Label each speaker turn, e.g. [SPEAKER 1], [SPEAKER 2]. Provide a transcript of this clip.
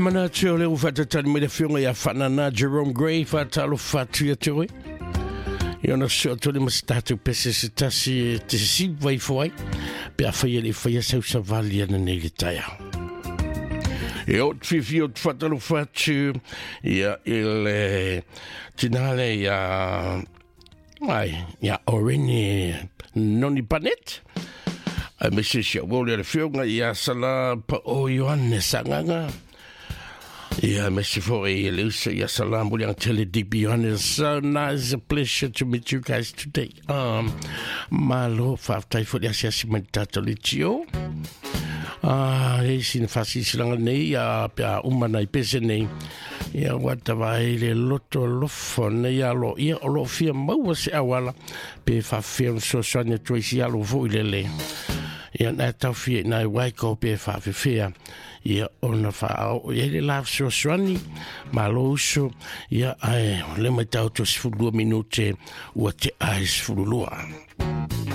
[SPEAKER 1] Manatu o lea ua faatatali mai le afioga ia Faanana Jerome Gray, faatalofa atu ia te oe. Ia ona soo atu le ma se tatou pese se tasi e te siva ifo ai, pe a fai e le i faia sau savali ana nei le taeao. E o te fiafia o te faatalofa atu ia i le tina le ia ai ia Orene Noni Panet. Ai me se si au le afioga ia Sala Pa o Ioane Sagaga. Yeah, Mr. Foy, Lucy, yes, salam, William Tele DB It's so nice, a pleasure to meet you guys today. Malo, faafetai foi le asiasi mai tatou le tio. Ah, e sina fasisilanga nei, a pe a uma nei pese nei. Ia ua tava ai le loto alofa nei alo ia o lo fia maua se auala pe faafefea ona fesoasoani atu ai si alo foi lele. Ia na tau fia i nai waiko pe faafefea ia ona faaoo i ai le la fesoasoani malo uso ia ae le mai tau to 12 minute ua te ai 12.